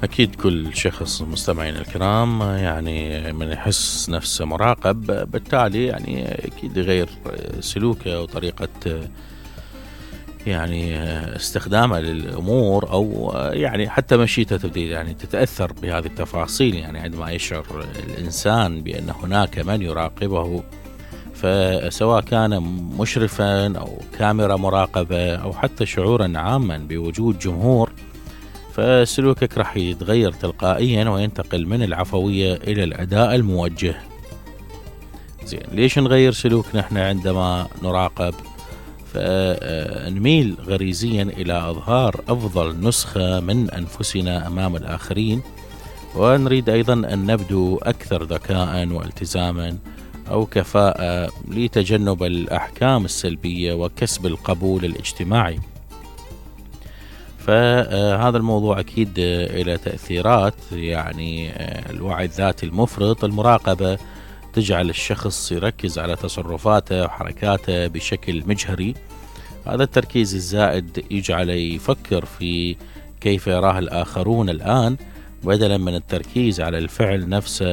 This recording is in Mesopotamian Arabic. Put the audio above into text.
أكيد كل شخص مستمعين الكرام يعني من يحس نفسه مراقب بالتالي يعني أكيد يغير سلوكه وطريقة يعني استخدامه للأمور، أو يعني حتى مشيته تبدي يعني تتأثر بهذه التفاصيل. يعني عندما يشعر الإنسان بأن هناك من يراقبه، فسواء كان مشرفا أو كاميرا مراقبة أو حتى شعورا عاما بوجود جمهور، فسلوكك راح يتغير تلقائيا وينتقل من العفوية إلى الأداء الموجه. زين، ليش نغير سلوكنا احنا عندما نراقب؟ فنميل غريزيا إلى إظهار أفضل نسخة من أنفسنا أمام الآخرين، ونريد أيضا أن نبدو أكثر ذكاء والتزاما أو كفاءة لتجنب الأحكام السلبية وكسب القبول الاجتماعي. فهذا الموضوع أكيد إلى تأثيرات، يعني الوعي الذاتي المفرط. المراقبة تجعل الشخص يركز على تصرفاته وحركاته بشكل مجهري. هذا التركيز الزائد يجعله يفكر في كيف يراه الآخرون الآن، بدلا من التركيز على الفعل نفسه